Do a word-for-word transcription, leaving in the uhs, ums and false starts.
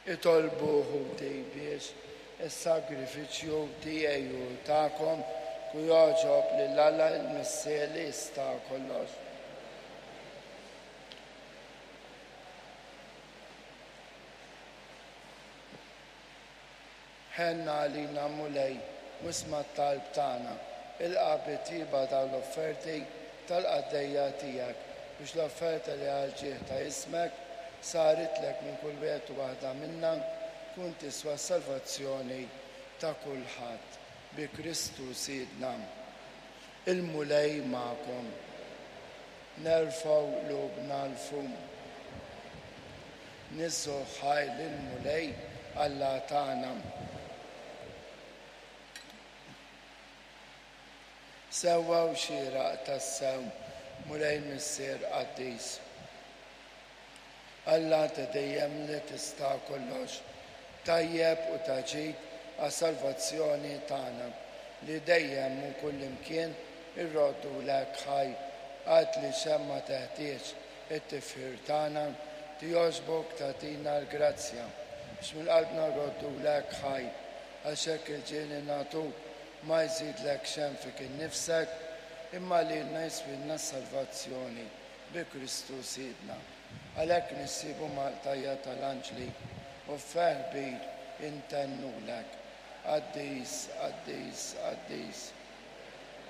Itolbu ħuti biex is-sagrifiċċju tiegħi u tagħkom ku jogħġob lil Alla l-Missier li jista' kollox. Ħenna għalina Mulej, u isma' t-talb tagħna, ilqa' bit-tjieba dawn l-offerti tal-qaddejja tiegħek, biex l-offerta li għal ġieħ ta' ismek saritlek minn kull wieħed u waħda minna tkun tiswa s-salvazzjoni ta' kulħadd. Bi Kristu Sidna. Il-Mulej magħkom. Nerfgħu qlubna 'l fuq. Niżżu ħaj lill-Mulej Alla tagħna. Sewwa u xieraq tassew, Mulej Missier Qaddis. Alla ta' dejjem li tista' kollox, tajjeb u ta' ġid għas-salvazzjoni tagħna, li dejjem u kullimkien irroddulek ħaj, għad li xemma teħtieġ it-tifħir tagħna, tijogħġbok tagħtina l-grazzja biex minn qalbna rroddulek ħaj, għax hekk il-ġieli nagħtuk ma jżidlek xejn fik innifsek, imma lilna jiswilna s-salvazzjoni bi Kristu Sidna. Għalhekk nissibu mal-qtajja tal-anġli u ferħ kbir intennulek. Qaddis, qaddis, qaddis,